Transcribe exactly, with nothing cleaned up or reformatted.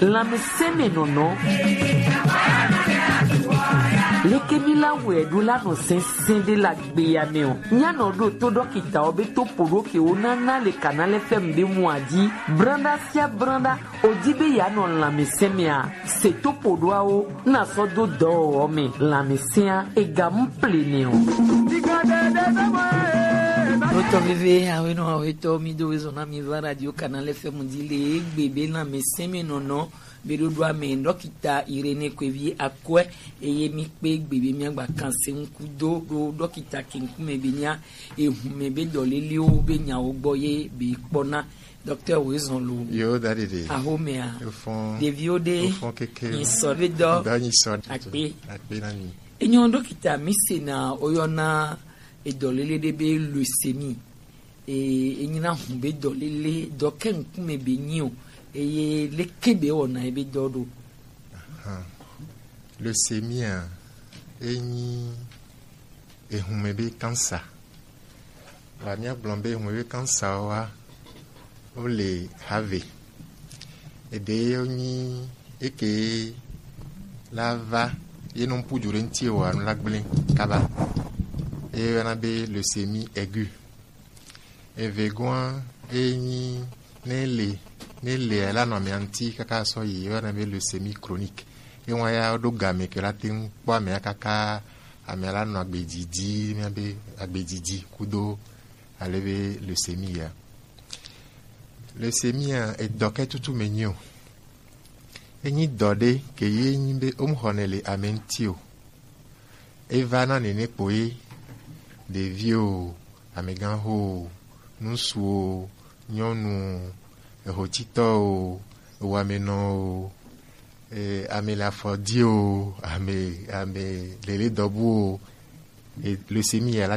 Lanmɛsɛnmɛnɔnɔ. Leke mi la wɛ ɖo la nɔ sɛnsɛn ɖe la gbeya mɛ o. Nya nɔ ɖo to dɔkita o be to poɖo ke wo nana le kana lɛ fɛm ɖe mu aji. Branda sia branda o di be ya nɔ lanmɛsɛnmɛa. Se to poɖoawo na sɔ do dɔ o mɛ lanmɛsɛnmɛa e ga mu ple nɛ o. Notɔ veve awe nɔ awe tɔ mi do we zɔn na mi va radio kana lɛ fɛm di le egbe be lanmɛsɛnmɛnɔnɔ be ɖoɖo ame dɔkita Irene Kwevi Akwɛ eye mi kpe gbe be miagba kan se ŋku do ɖo dɔkita ke ŋkume be nya ehun mɛ be dɔlelewo be nyawo gbɔ ye be kpɔna. Dɔkita wo zɔn lo. Yo dadidi. Ahomea. Ofɔn. Ɖeviwo ɖe. Ofɔn keke. Nyisɔ be dɔ. Dɔ nyisɔ. Akpe. Akpe na mi. Enyɔ dɔkita mi se na oyɔna edɔlele ɖe be leucémie. E, enyina hun be dɔlele dɔ ke ŋkume be nyi o. Eye leke be wɔna ebe dɔ ɖo. Ahan. Leucémie a, enyi ehun mɛ be cancer. Wa mia gblɔ be ehun mɛ be cancer wa o le have. Ede yo nyi eke la va ye no puju ɖe ŋti wa nu la gblẽ kaba. Eye yɔna be leucémie aiguë. Evegɔa enyi ne le ne le la nɔ amea ŋti kaka sɔ yi yɔna be leucémie chronique. Ewa ya ɖo game ke la te ŋu kpɔ amea kaka amea la nɔ agbedzidzi mia be agbedzidzi kudo ale be leucémie ya. Leucémie a edɔ ke tutu me nyi o. Enyi dɔ ɖe ke ye nyi be wo mu xɔnɛ le ame ŋti o. Eva na nene kpo ye, ɖevi o, amegãxo o, ŋsu o, nyɔnu o, ehotitɔ o, ewamenɔ o, e, ame le afɔ di o, ame ame lele dɔbu o, e, leucémie ya la